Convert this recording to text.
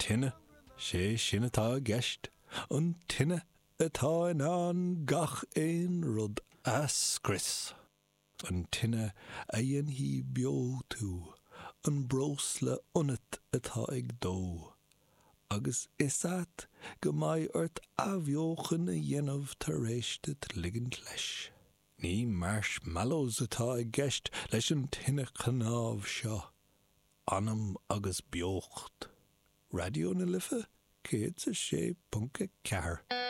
Tine, sé sin atá i gceist, an tine atá in ann gach aon rud a scrios. An tine a dhéanfaidh beo tú, an breosla ionat atá ag dó, agus is ait go mbeidh ort athbheochan a dhéanamh tar éis duit ligint leis. Ní marshmallows atá i gceist leis an tine chnámh seo, anam agus beocht. Raidió na Life 106.4.